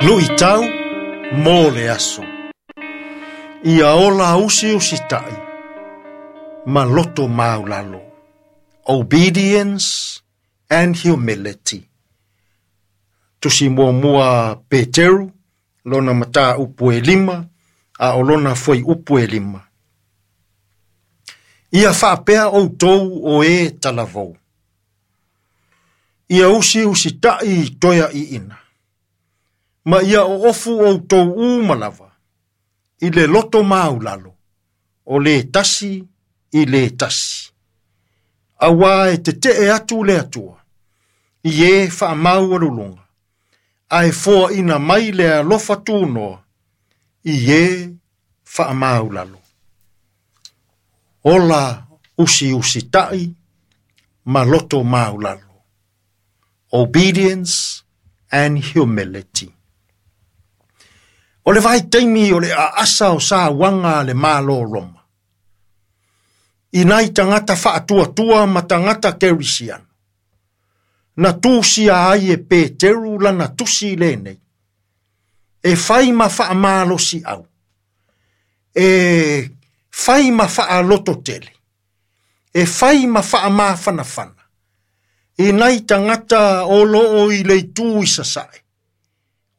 Luitau mo le aso. Ia ola usiusitai ma loto maulalo. Obedience and humility. Tusi muamua Peteru, lona mataupu e 5, a o lona fuaiupu e 5. Ia faapea outou o e talavou. Ia usiusitai i toeaiina. Ma ia oofu outou uma lava, i le loto maulalo, o le tasi i le tasi. Auā e tetee atu le Atua, i e faamaualuluga, ae foaina mai le alofa tunoa, i e faamaulalo. Ola usiusitai ma loto maulalo. Obedience and humility. O le vaitaimi o le aasa o sauaga a le Malo o Roma. I nai tagata faatuatua ma tagata kerisiano. Na tusia ai e Peteru lana tusi lenei. E fai ma faamalosiau. E fai ma faalototele. E fai ma faamafanafana. I nai tagata o loo i le itu i sasae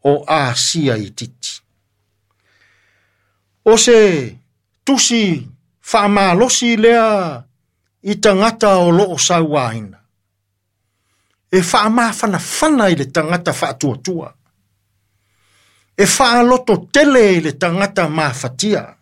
o Asia itiiti. O se tusi faamalosi lea i tagata o loo sauaina. E faamafanafana i le tagata faatuatua. E faalototele i le tagata mafatia.